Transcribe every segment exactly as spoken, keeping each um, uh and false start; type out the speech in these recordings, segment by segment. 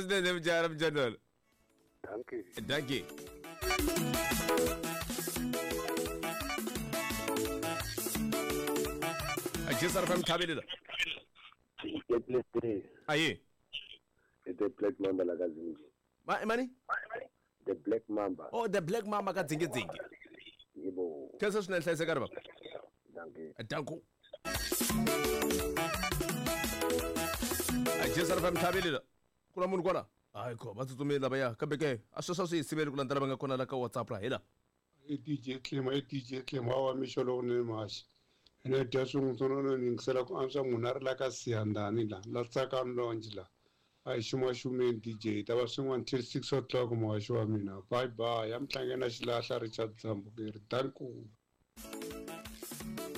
swinene mujara mujandolo. Dankie. Dankie. Ajisar fam thabile. Aye. The Black Mamba la kazingi. Ma mani? The Black Mamba. Oh, the Black Mamba ka zingi zingi. Yebo. Kesa swinene hlayiseka ri baba. Dankie. Danko. Ajisar fam thabile. Kula munhu kwala. Hayi ko va tsutsumile lavaya kambe ke a sweswo swi hi siveli ku landzela va nga kona la ka WhatsApp ra hela. E D J Clem, e D J Clem wa mixo lowunene maxi. Ene dya swin'wana ni yingisela ku antswa munhu a ri la ka Siyandhani la la Tsakani Lounge la. A hi xumaxumeni D J ta va swin'wana till six o'clock muhaxi wa mina. Bye bye. Ya mtlangeni na xilahla Richard Dzambukeri. Danku.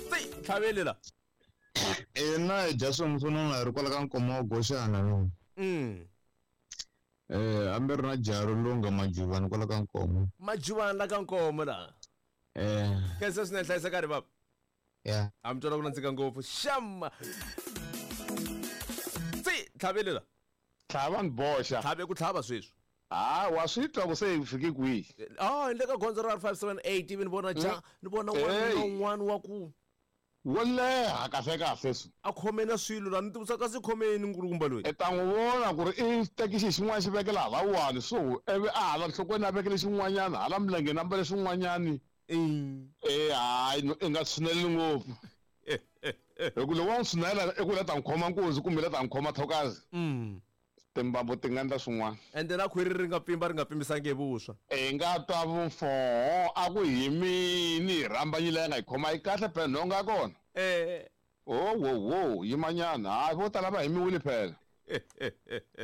Tsi tlhavele la. Ina hi dya swin'wana hi ri kwala ka Nkomo wa Goxana no. Mm. Eh ambe ri na jaro longa Majuvani kwala ka Nkomo. Majuvani la ka Nkomo la. Eh. Kesa swinene hlayiseka ri baba. Yeah. Am twela ku nandzika ngopfu. Sham. Tsi tlhavele la. Tlhava ni boxa. Tlhave ku tlhava sweswi. Ah, wa swi twa ku se hi fike kwihi? Ah, le ka gondzo ra five seven eight ivi ni vona ja, ni vona n'wana na un'wana wa ku wo leha kahle kahle swi. A khome na swilo la ni tivisa ka si khomeni nkulukumba loyi. I ta n'wi vona ku ri i teki xi xin'wana xi vekela hala wani so ivi a hala nhlokweni a vekele xin'wanyana hala milengeni a mbale xin'wanyani. Eh hayi i nga tshineleli ngopfu. Hi ku loko wa n'wi tshinela i ku la ta n'wi khoma nkunzi kumbe la ta n'wi khoma thokazi. Mm. Timbambu ti nga endla swin'wana. Ende na khwiri ri nga pfimba ri nga pfimbisangi hi vuswa. I nga twa vufoho a ku hi mini hi rhambanyile ya nga hi khoma yi kahle phela nhonga ya kona. Eh. Oh wo wo yimanyana hayi vo tala va himiwile phela.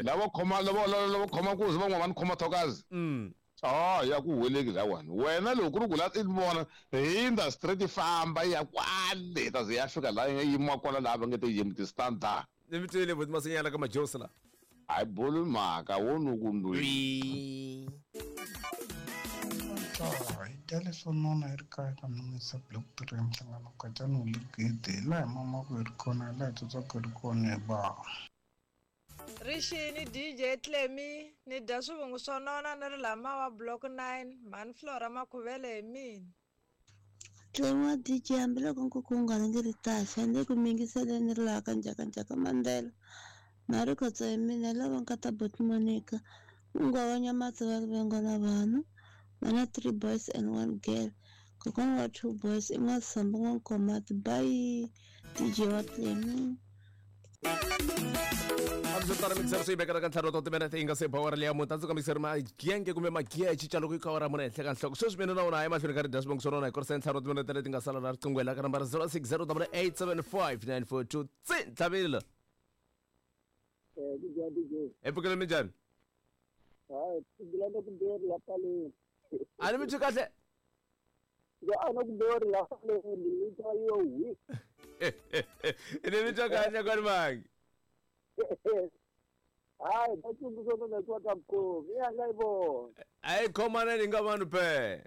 Lavo khoma lavo lavo khoma nkunzi van'wana va ni khoma thokazi. Mm. Ah ya ku huweleki lawani wena loko ku ri ku la i vona hindza straight famba ya kwale ta ze ya fika la yi yimiwa kwala laha va nge te yimi ti-standard. Ni mi twile buti Masinyana ka Majosi la. Hayi boli mhaka wo ni ku ndwi. Hi dya leswo nona hi ri kaya ka Nomisa Block three Nhlangano Katsana wu le gede laha hi mamaka hi ri kona laha hi tsotswaka hi ri kona hi ba. Rixini D J Clemi ni dya swivungu swo nona ni ri lama wa Block nine mhani Flora Makhuvele hi mina. Clemi wa D J hambiloko nkuku wu nga rhangi ri taxa ni ku mingiseleni ri laha ka Njhakanjhaka Mandela. Mari khotso hi mina lava nkata bot Monica Ungwa wa Nyamatsi va rivengo na vanhu va na three boys and one girl kokwana wa two boys i N'wasambu N'wankomati bye D J wa Clemi. Amsotara mixer swi vekela ka ntlhanu wa timinete yi nga se ba awara leya mune tandzuka mixer magenge kumbe magiya hi cinca loko yi kha awara mune henhla ka nhloko sweswi mina na wona hayi mahlweni ka ri dya swivongo swa rona hi korisa ntlhanu wa timinete leti nga sala na riqingho la ka nambara zero six zero double eight seven five nine four two tsi ntlhavile. Eh D J D J. E pfukile minjhani? Hayi pfukile ku mbirhi la paleni. A ni mi twi kahle? Ya a na ku mbirhi la paleni ni twa yo wi. Ni mi twa kahle kwani mangi? Hayi ba tsundzuxa na twa ka mkhomi ya nga yi vona. A yi khomaneni hi nga vanhu phe.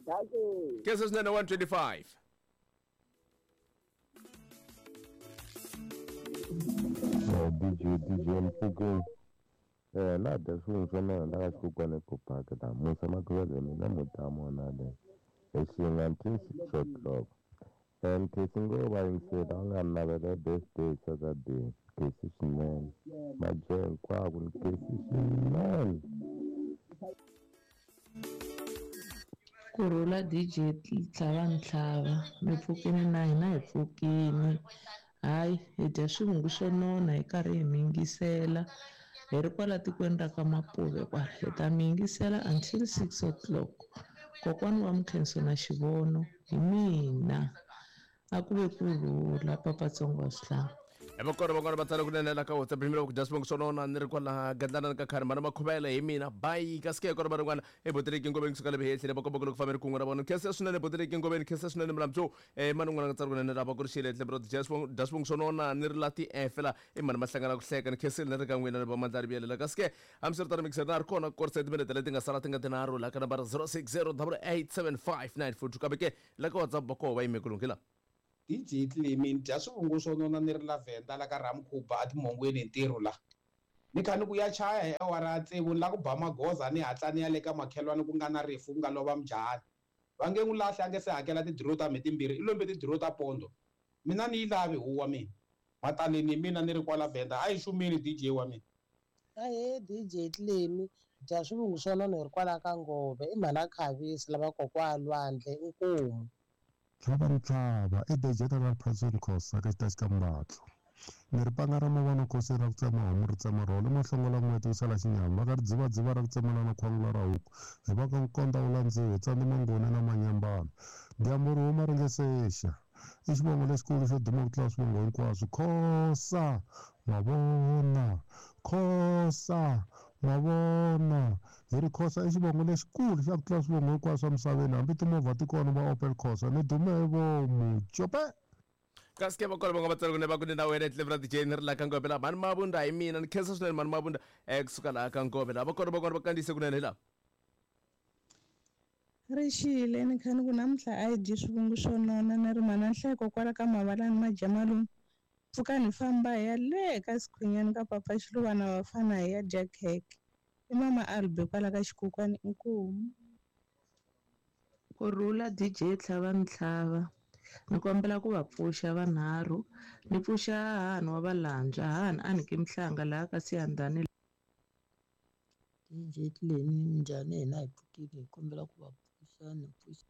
Dankie. Kesa swinene one twenty-five. D J D J Mpfukeni eh la dya swin'wana swa nona la ka xikukwana eCopark la Musa Makhuvele mina mutamu na le hi until six o'clock and kesi ngo va yingisela va nga navela birthday Saturday kesi swinene majoya hinkwako ni kesi swinene. Kurhula D J Tlhava Ntlhava mi pfukini na hina hi pfukini. Hayi hi dya swivungu swo nona hi karhi hi mingisela hi ri kwala tikweni ra ka Mapuve kwala hi ta mingisela until six o'clock kokwana wa Mkhenso na Xivono hi mina a ku ve kurhula papatsongo wa swihlanga. Evakona van'wana va tsala kunene la ka WhatsApp rimira ku dya swivongo swo nona ni ri kwala Gandlana ka khari mana Makhuvele hi mina bye kasi ke kona van'wana eBoteleki Ngoveni kusuka le Behehlele va komba ku loko fambe ri kun'we na vona khensa swinene Boteleki Ngoveni khensa swinene Mlamtso eh mani un'wana nga tsala kunene lava ku ri xile tlhelo ro dya swivongo dya swivongo swo nona ni ri la ti efela i mani mahlangana ku hleka ni khensile ni ri ka n'wina ni va Mandlari Biyelela kasi ke hambiswiritano mixer na ri kona ku korisa timinete leti nga sala ti nga tinharhu la ka nambara zero six zero double eight seven five nine four two kambe ke la ka WhatsApp va koho va yime ku lunghela. D J Clemi dya swivungu swo nona ni ri la Venda la ka Ramkhuba a timhongweni hi ntirho la. Ni kha ni ku ya chaya hi awara ya tsevu ni la ku ba magoza ni hatla ni ya le ka makhelwani ku nga na rifu ku nga lova mujahani. Va nge n'wi lahli a nge se hakela tidiro ta mheti timbirhi i lombe tidiro ta pondo. Mina ni yi lavi huwa mina. Mataleni mina ni ri kwala Venda a yi xumile D J wa mina. Ahee D J Tlemi dya swivungu swa nona hi ri kwala ka Ngove i mhana Khavisi lava kokwa lwandle inkomu. Tlhava ntlhava i D J ta Patson Khosa ka xitachi ka Mbatlo. Ni ri panga ra mavona khosi ra ku tsema homu ri tsema rhole mahlongola n'weti wu sala xinyama va ka ri dzivadziva ra ku tsemela na khwangula ra huku hi va ka nkonda wu landziwe tsandzi mangoni na manyambana dyambu ri huma ri nge sexa i xivongo lexikulu xo duma ku tlula swivongo hinkwaswo Khosa mavona Khosa mavona hi ri Khosa i xivongo lexikulu xa ku tlula swivongo hinkwaswo emisaveni hambi timovha ti kona va Opel Khosa ni dume hi vomu cope. Kasi ke va kona va nga vatswari ku ne va ku ni na wena Clever D J ni ri laha ka Ngove laha mhani Mabunda hi mina ni khensa swinene mhani Mabunda eh kusuka laha ka Ngove laha va kona va kona va kandziyise kunene hi laha. Rixile ni kha ni ku namuntlha a hi dyi swivungu swo nona ni ri mhana Nhleko kwala ka Mavalani Majamaluni pfuka ni famba hi ya le ka Sikhwinyani ka Papa Xiluvana vafana hi ya dya khekhe i mama Albe kwala ka Xikukwani inkomu. Kurhula D J Tlhava Ntlhava ni kombela ku va pfuxa vanharhu ni pfuxa hahani wa Valandza hahani a ni ki Mhlanga laha ka Siyandhani. D J Tlemi minjhani hina hi pfukile hi kombela ku va pfuxa ni pfuxa.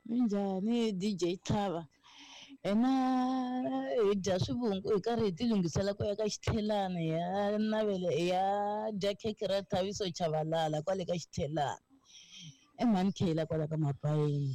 Minjhani D J Tlhava hina hi dya swivungu hi karhi hi tilunghisela ku ya ka Xithelani hi ya navela hi ya dya khekhe ra Thabiso Chabalala kwale ka Xithelani i mhani Khela kwala ka Mabayeni.